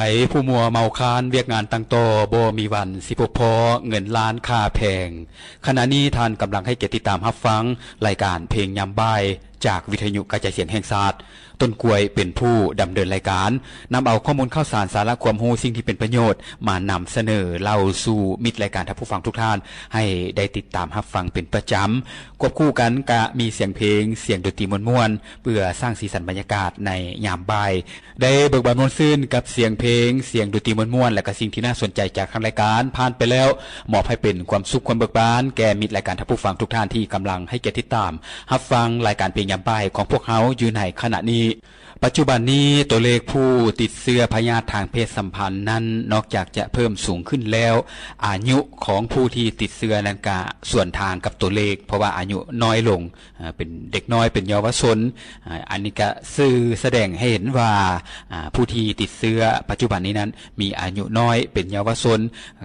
ໃຜຜູ້ມົວເມົາຄານວຽກງານຕັ້ງຕໍ່ ບໍ່ມີວັນຊິພົບພໍ້ເງິນລ້ານຄ່າແພງ. ຂະນະນີ້ທ່ານກຳລັງໃຫ້ກຽດຕິດຕາມຮັບຟັງລາຍການເພງຍາມບ່າຍຈາກວິທະຍຸກະຈາຍສຽງແຫ່ງຊາດ. ຕົ້ນກ້ວຍເປັນຜູ້ດຳເນີນລາຍການ, ນຳເອົາຂໍ້ມູນຂ່າວສານ, ສາລະຄວາມຮູ້, ສິ່ງທີ່ເປັນປະໂຫຍດ ມານຳສະເໜີເລົ່າສູ່ມິດລາຍການທ່ານຜູ້ຟັງທຸກທ່ານ ໃຫ້ໄດ້ຕິດຕາມຮັບຟັງເປັນປະຈຳ. ຄວບຄູ່ກັນກະມີສຽງເພງ, ສຽງດົນຕີມ່ວນໆ ເພື່ອສ້າງສີສັນບັນຍາກາດໃນຍາມບ່າຍ. ໄດ້ເບີກບານມ່ວນຊື່ນກັບສຽງເພງ, ສຽງດົນຕີມ່ວນໆ ແລະກະສິ່ງທີ່ໜ້າສົນໃຈຈາກທາງລາຍການຜ່ານໄປແລ້ວ, ມອບໃຫ້ເປັນຄວາມສຸກຄວາມເບີກບານແກ່ມິດລາຍການທ່ານຜູ້ຟັງທຸກທ່ານທີ່ກຳລັງໃຫ້ກຽດຕິດຕາມຮັບຟັງລາຍການເພງຍາມບ່າຍຂອງພວກເຮົາຢູ່ໃນຂະນະນີ້. ປັດຈຸບັນນີ້ ຕົວເລກຜູ້ຕິດເຊື້ອພະຍາດທາງເພດສຳພັນນັ້ນ ນອກຈາກຈະເພີ່ມສູງຂຶ້ນແລ້ວ, ອາຍຸຂອງຜູ້ທີ່ຕິດເຊື້ອນັ້ນກະສວນທາງກັບຕົວເລກ, ເພາະວ່າອາຍຸນ້ອຍລົງ, ເປັນເດັກນ້ອຍ, ເປັນເຍົາວະຊົນ. ອັນນີ້ກະສື່ສະແດງໃຫ້ເຫັນວ່າ ຜູ້ທີ່ຕິດເຊື້ອປັດຈຸບັນນີ້ນັ້ນ ມີອາຍຸນ້ອຍ, ເປັນເຍົາວະຊົນ,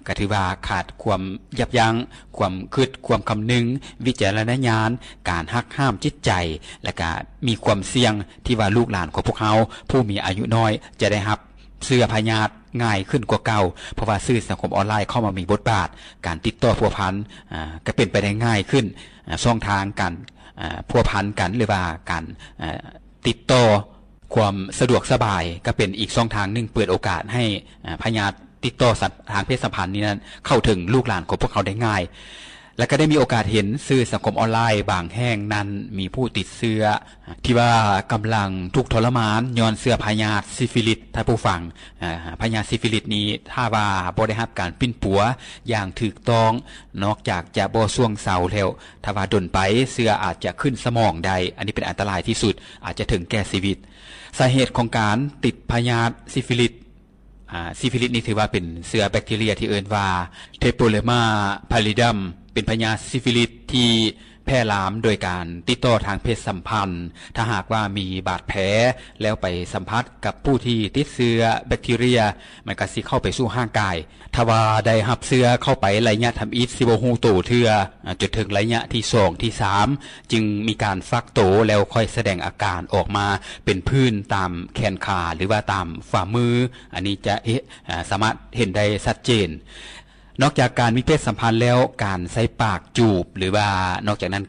ກະຖືວ່າຂາດຄວາມຢັບຢັ້ງ, ຄວາມຄິດ, ຄວາມຄຳນຶງ, ວິຈາລະນະຍານ, ການຮັກຫ້າມຈິດໃຈ, ແລະກະມີຄວາມສ່ຽງທີ່ວ່າລູກຫຼານຂອງພວກເຮົາຜູ້ມີອາຍຸນ້ອຍຈະໄດ້ຮັບເຊື້ອພະຍາດງ່າຍຂຶ້ນກວ່າເກົ່າ, ເພາະວ່າສື່ສັງຄົມອອນລາຍເຂົ້າມາມີບົດບາດ, ການຕິດຕໍ່ພົວພັນ ອາ ກະເປັນໄປໄດ້ງ່າຍຂຶ້ນ. ອາ ຊ່ອງທາງການ ອາ ພົວພັນກັນ ຫຼືວ່າການ ອາ ຕິດຕໍ່ ຄວາມສະດວກສະບາຍ ກະເປັນອີກຊ່ອງທາງໜຶ່ງເປີດໂອກາດໃຫ້ ອາ ພະຍາດຕິດຕໍ່ສະ ທາງເພດສຳພັນນີ້ນັ້ນ ເຂົ້າເຖິງລູກຫຼານຂອງພວກເຮົາໄດ້ງ່າຍ. ແລະກະໄດ້ມີໂອກາດເຫັນສື່ສັງຄົມອອນລາຍບາງແຫ່ງນັ້ນ ມີຜູ້ຕິດເຊື້ອທີ່ວ່າກຳລັງທຸກທໍລະມານຍ້ອນເຊື້ອພະຍາດຊີຟິລິດ. ທ່ານຜູ້ຟັງ, ອາ ພະຍາດຊີຟິລິດນີ້ ຖ້າວ່າບໍ່ໄດ້ຮັບການປິ່ນປົວຢ່າງຖືກຕ້ອງ, ນອກຈາກຈະບໍ່ຊ່ວງເຊົາແລ້ວ, ຖ້າວ່າດົນໄປເຊື້ອອາດຈະຂຶ້ນສະໝອງໄດ້, ອັນນີ້ເປັນອັນຕະລາຍທີ່ສຸດ, ອາດຈະເຖິງແກ່ຊີວິດ. ສາເຫດຂອງການຕິດພະຍາດຊີຟິລິດ ອາ ຊີຟິລິດນີ້ຖືວ່າເປັນເຊື້ອແບັກທີເຣຍທີ່ເອີ້ນວ່າ Treponema pallidum ເປັນພະຍາດຊີຟິລິດທີ່ແຜ່ລາມໂດຍການຕິດຕໍ່ທາງເພດສຳພັນ. ຖ້າຫາກວ່າມີບາດແຜແລ້ວໄປສຳຜັດກັບຜູ້ທີ່ຕິດເຊື້ອແບັກທີເຣຍ, ມັນກະຊິເຂົ້າໄປສູ່ຮ່າງກາຍ. ຖ້າວ່າໄດ້ຮັບເຊື້ອເຂົ້າໄປໄລຍະທຳອິດ ຊິບໍ່ຮູ້ໂຕເທື່ອ, ຈົນເຖິງໄລຍະທີສອງ ທີສາມ ຈຶ່ງມີການຟັກໂຕ ແລ້ວຄ່ອຍສະແດງອາການອອກມາເປັນຜື່ນຕາມແຂນຂາ ຫຼືວ່າຕາມຝ່າມື. ອັນນີ້ຈະເຫັນ ສາມາດເຫັນໄດ້ຊັດເຈນ. ນອກຈາກການມີເພດສຳພັນແລ້ວ, ການໃຊ້ປາກຈູບ ຫຼືວ່ານອກຈາກນັ້ນ